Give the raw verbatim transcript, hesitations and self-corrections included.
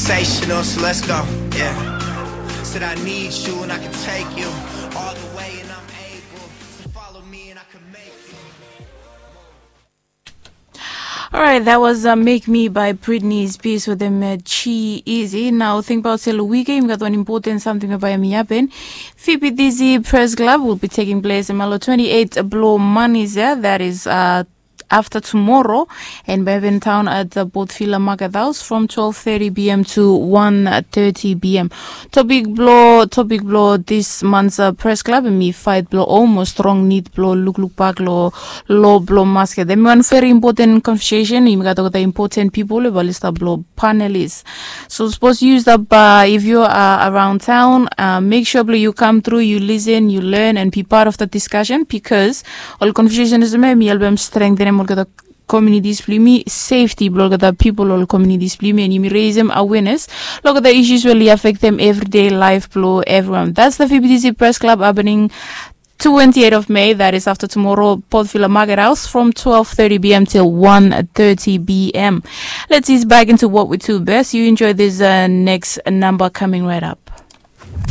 Sensational, so let's go. Yeah. Said I need you and I can take you all the way, and I'm able. So follow me and I can make you. Alright, that was uh, Make Me by Britney Spears with them uh, Chi Easy. Now think about sel weekend, we got one important something about mi happen. Phoebe Dizzy Press Club will be taking place in Malo twenty-eight Blow Money there. That is uh, after tomorrow and Bevan Town at the Botvilla Market House from twelve thirty p.m. to one thirty p.m. Topic blow, topic blow this month's uh, press club and me fight blow almost strong need blow look look back low low blow masket. Then one very important conversation. You got the important people, balista blow panelists. So suppose you use the bar if you are around town. Uh, make sure blow you come through, you listen, you learn and be part of the discussion because all conversation is me, me help them strengthen them all the communities blimi safety blog the people all communities blimi and you raise them awareness. Look at the issues really affect them everyday life blow everyone. That's the F B T C Press Club happening twenty-eighth of May, that is after tomorrow, Port Villa Market House from twelve thirty p.m. till one thirty p.m. Let's ease back into what we do best. You enjoy this uh, next number coming right up.